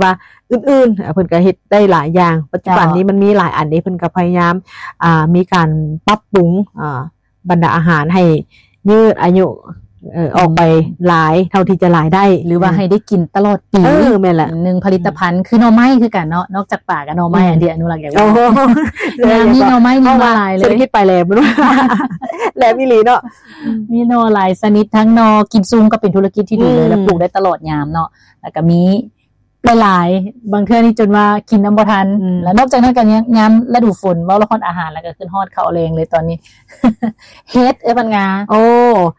ວ່າອື່ນໆ ເພິ່ນກໍເຮັດໄດ້ຫຼາຍຢ່າງ. ປັດຈຸບັນນີ້ມັນມີຫຼາຍອັນເດ້ ເພິ່ນກໍພະຍາຍາມ ອ່າ ມີການປັບປຸງ ອ່າ ບັນດາອາຫານໃຫ້ຍືດອາຍຸ ເອີ ອອກໄປຫຼາຍເທົ່າທີ່ຈະຫຼາຍໄດ້ ຫຼືວ່າໃຫ້ໄດ້ກິນຕະຫຼອດປີ. ເອີ ແມ່ນລະ ໜຶ່ງຜະລິດຕະພັນ ຄືໜໍ່ໄມ້ຄືກັນເນາະ ນອກຈາກປາກໍໜໍ່ໄມ້ ອັນທີ່ອະນຸລັກຢາກ ໂອ້ ຍາມນີ້ໜໍ່ໄມ້ມີມາຫຼາຍເລີຍ ເສດຖະກິດໄປແລ້ວ ແລ້ວອີ່ຫຼີເນາະ ມີໜໍ່ຫຼາຍຊະນິດ ທັງໜໍ່ກິນຊຸມກໍເປັນທຸລະກິດທີ່ດີເລີຍ ແລ້ວປູກໄດ້ຕະຫຼອດຍາມເນາະ ແລ້ວກໍມີ ຫຼາຍໆ ບາງເທື່ອນີ້ຈົນວ່າກິນນຳບໍ່ທັນ ແລ້ວນອກຈາກນັ້ນກໍຍັງຍາມລະດູຝົນ ເວົ້າລະຮອດອາຫານ ແລ້ວກໍຂຶ້ນຮອດເຂົ້າແລງເລີຍຕອນນີ້ ເຫັດ ເອີຍ ພັນງາ ໂອ້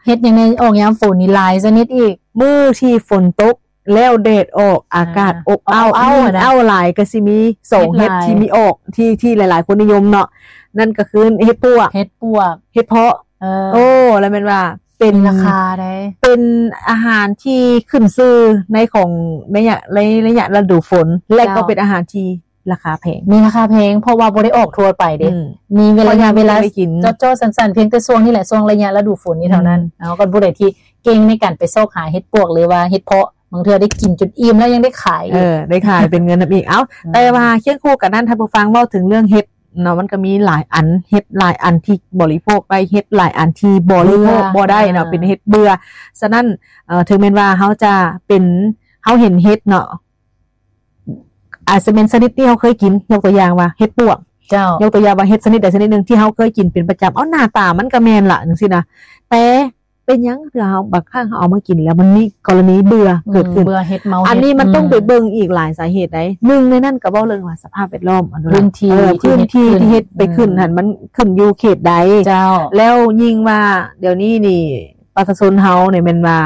ເຫັດຫຍັງໃນອອກຍາມຝົນນີ້ຫຼາຍຊະນິດອີກ ມື້ທີ່ຝົນຕົກແລ້ວແດດອອກ ອາກາດອົບອ້າວ ມີເອົ້າຫຼາຍ ກໍຊິມີສອງເຫັດທີ່ມີອອກ ທີ່ ທີ່ຫຼາຍໆຄົນນິຍົມເນາະ ນັ້ນກໍຄືເຫັດປວກ ເຫັດປວກ ເຫັດເຜາະ ເອີ ໂອ້ ແລ້ວແມ່ນວ່າ ເປັນ ມີລາຄາໃດ ເປັນອາຫານທີ່ຂຶ້ນຊື່ໃນຂອງໄລຍະ ໃນໄລຍະລະດູຝົນ ແລະກໍເປັນອາຫານທີ່ລາຄາແພງ ມີລາຄາແພງ ເພາະວ່າບໍ່ໄດ້ອອກທົ່ວໄປເດ້ ມີເວລາ ເວລາເຈາະໆ ສັ້ນໆ ພຽງແຕ່ຊ່ວງນີ້ແຫຼະ ຊ່ວງໄລຍະລະດູຝົນນີ້ເທົ່ານັ້ນ ເຮົາກໍຜູ້ໃດທີ່ເກັ່ງໃນການໄປຊອກຫາເຫັດປວກ ຫຼືວ່າເຫັດເຜາະ ບາງເທື່ອໄດ້ກິນຈົນອີ່ມແລ້ວຍັງໄດ້ຂາຍອີກ ເອີ ໄດ້ຂາຍເປັນເງິນນຳອີກ ເອົ້າ ແຕ່ວ່າຄຽງຄູ່ກັນນັ້ນ ທ່ານຜູ້ຟັງ ເວົ້າເຖິງເລື່ອງເຫັດ ເນາະ ມັນກໍມີຫຼາຍອັນ ເຫັດຫຼາຍອັນທີ່ບໍລິໂພກໄດ້ ເຫັດຫຼາຍອັນທີ່ບໍລິໂພກບໍ່ໄດ້ເນາະ ເປັນເຫັດເບື່ອ. ສະນັ້ນ ເອີ ເຖິງແມ່ນວ່າເຮົາຈະເປັນ ເຮົາເຫັນເຫັດເນາະ ອາດຈະແມ່ນຊະນິດທີ່ເຮົາເຄີຍກິນ ຍົກຕົວຢ່າງວ່າເຫັດປວກ ເຈົ້າ ຍົກຕົວຢ່າງວ່າເຫັດຊະນິດໃດຊະນິດໜຶ່ງທີ່ເຮົາເຄີຍກິນເປັນປະຈຳ ເອົາ ໜ້າຕາມັນກໍແມ່ນລະ ຈັ່ງຊີ້ນະ ແຕ່ ເປັນຫຍັງເທື່ອເຮົາ ບາງຄັ້ງເຮົາເອົາມາກິນແລ້ວມັນມີກໍລະນີເບື່ອເກີດຂຶ້ນ ເບື່ອເຫັດເມົາ ອັນນີ້ມັນຕ້ອງໄປເບິ່ງອີກຫຼາຍສາເຫດໃດ໋ ໜຶ່ງໃນນັ້ນກໍເວົ້າເລື່ອງວ່າສະພາບແວດລ້ອມ ພື້ນທີ່ທີ່ເຮັດໄປຂຶ້ນຫັ້ນ ມັນຂຶ້ນຢູ່ເຂດໃດ ເຈົ້າ ແລ້ວຍິ່ງວ່າດຽວນີ້ນີ້ປະຊາຊົນເຮົານີ້ແມ່ນວ່າ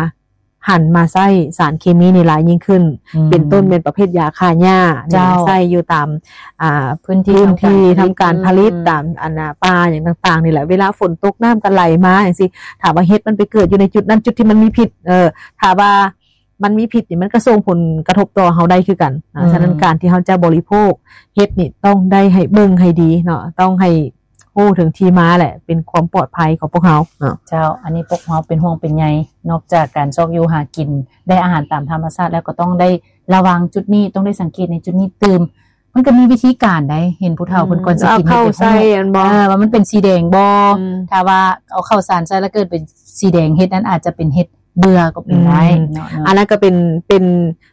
ຫັນມາໃຊ້ສານເຄມີນີ້ຫຼາຍຍິ່ງຂຶ້ນ ເປັນຕົ້ນແມ່ນປະເພດຢາຂ້າຫຍ້ານີ້ ເຈົ້າ ໃຊ້ຢູ່ຕາມ ອ່າ ພື້ນທີ່ ພື້ນທີ່ທຳການຜະລິດ ຕາມອັນນ່າປ່າຫຍັງຕ່າງໆນີ້ແຫຼະ ເວລາຝົນຕົກນ້ຳກໍໄຫຼມາຈັ່ງຊີ້ ຖ້າວ່າເຫັດມັນໄປເກີດຢູ່ໃນຈຸດນັ້ນ ຈຸດທີ່ມັນມີພິດ ເອີ ຖ້າວ່າມັນມີພິດນີ້ ມັນກໍສົ່ງຜົນກະທົບຕໍ່ເຮົາໄດ້ຄືກັນ ອາ ສະນັ້ນການທີ່ເຮົາຈະບໍລິໂພກເຫັດນີ້ ຕ້ອງໄດ້ໃຫ້ເບິ່ງໃຫ້ດີເນາະ ຕ້ອງໃຫ້ຮູ້ເຖິງທີ່ມາແຫຼະ ເປັນຄວາມປອດໄພຂອງພວກເຮົາເນາະ ເຈົ້າ ອັນນີ້ພວກເຮົາເປັນຫ່ວງເປັນໃຍ ນອກຈາກການຊອກຢູ່ຫາກິນ ໄດ້ອາຫານຕາມທຳມະຊາດແລ້ວ ກໍຕ້ອງໄດ້ລະວັງຈຸດນີ້ ຕ້ອງໄດ້ສັງເກດໃນຈຸດນີ້ຕື່ມ ມັນກໍມີວິທີການໃດ໋ ເຫັນຜູ້ເຖົ້າເພິ່ນກ່ອນຊິກິນ ເອົາເຂົ້າໃສ່ອັນບໍ່ ເອີ ວ່າມັນເປັນສີແດງບໍ່ ຖ້າວ່າເອົາເຂົ້າສານໃສ່ແລ້ວເກີດເປັນສີແດງ ເຫັດນັ້ນອາດຈະເປັນເຫັດເບື່ອກໍເປັນໄດ້ເນາະ ອັນນັ້ນກໍເປັນ ເປັນ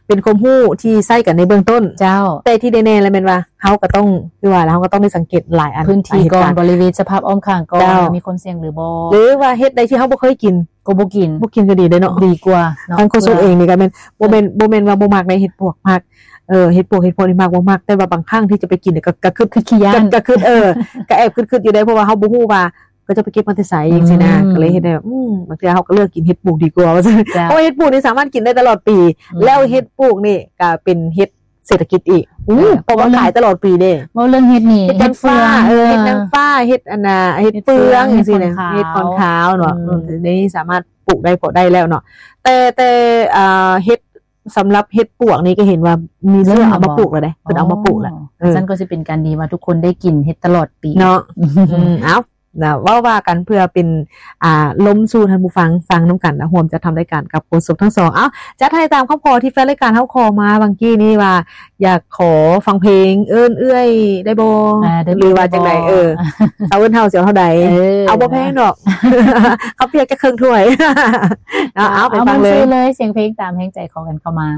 ເປັນຄວາມຮູ້ທີ່ໃຊ້ກັນໃນເບື້ອງຕົ້ນ ເຈົ້າ ແຕ່ທີ່ແນ່ໆແລ້ວແມ່ນວ່າ ເຮົາກໍຕ້ອງ ຄືວ່າລະ ເຮົາກໍຕ້ອງໄດ້ສັງເກດຫຼາຍອັນ ພື້ນທີ່ກ່ອນ ບໍລິເວນສະພາບອ້ອມຂ້າງກ່ອນ ມີຄວາມສ່ຽງຫຼືບໍ່ ຫຼືວ່າເຫັດໃດທີ່ເຮົາບໍ່ເຄີຍກິນ ກໍບໍ່ກິນ ບໍ່ກິນກໍດີເດ້ເນາະ ດີກວ່າເນາະ ທາງໂຄສົກເອງນີ້ກໍແມ່ນ ບໍ່ແມ່ນ ບໍ່ແມ່ນວ່າບໍ່ມັກໃນເຫັດປວກ ມັກ ເອີ ເຫັດປວກເຫັດເຜາະນີ້ມັກບໍ່ມັກ ແຕ່ວ່າບາງຄັ້ງທີ່ຈະໄປກິນກໍ ກໍຄຶດ ຄຶດຂີ້ຢ້ານ ກໍຄຶດ ເອີ ກໍແອບຄຶດໆຢູ່ເດ້ ເພາະວ່າເຮົາບໍ່ຮູ້ວ່າເຂົາຈະໄປເກັບມາແຕ່ໃສຈັ່ງຊີ້ນະ ກໍເລີຍເຮັດໃຫ້ແບບ ອືມ ບາງເທື່ອເຮົາກໍເລືອກກິນເຫັດປູກດີກວ່າວ່າຊັ້ນ ເຈົ້າ ເພາະວ່າເຫັດປູກນີ້ສາມາດກິນໄດ້ຕະຫຼອດປີ ແລ້ວເຫັດປູກນີ້ກໍເປັນເຫັດເສດຖະກິດອີກ ເພາະວ່າຂາຍຕະຫຼອດປີເດ້ ເວົ້າເລື່ອງເຫັດນີ້ ເຫັດນາງຟ້າ ເຫັດເຟືອງ ເຫັດອັນນ່າ ເຫັດເຟືອງຈັ່ງຊີ້ນະ ເຫັດຂອນຂາວເນາະ ນີ້ສາມາດປູກໄດ້ ເພາະໄດ້ແລ້ວເນາະ ແຕ່ ແຕ່ ອ່າ ເຫັດ ສຳລັບເຫັດປວກນີ້ກໍເຫັນວ່າມີເຊື້ອເອົາມາປູກແລ້ວເດ້ ເພິ່ນເອົາມາປູກແລ້ວ ເອີ ຊັ້ນກໍຊິເປັນການດີວ່າທຸກຄົນໄດ້ກິນເຫັດຕະຫຼອດປີເນາະ ເອົ້າ ເວົ້າວ່າກັນເພື່ອເປັນ ອ່າ ລົມສູ່ທ່ານຜູ້ຟັງຟັງນຳກັນ ຮ່ວມຈັດທຳລາຍການກັບໂຄສົກທັງສອງ ເອົ້າ ຈັດໃຫ້ຕາມຄຳຂໍທີ່ແຟນລາຍການເຮົາຂໍມາຫວ່າງກີ້ນີ້ວ່າ ຢາກຂໍຟັງເພງເອີ້ນເອື້ອຍໄດ້ບໍ່ ຫຼືວ່າຈັ່ງໃດ ເອີ ເອົາເອີ້ນເທົ່າເສຍເທົ່າໃດ ເອົາບໍ່ແພງດອກ ເຂົ້າປຽກຈັກເຄິ່ງຖ້ວຍ ເອົາ ເອົາໄປຟັງເລີຍ ເອົາເລີຍ ສຽງເພງຕາມແຮງໃຈຂໍກັນເຂົ້າມາ.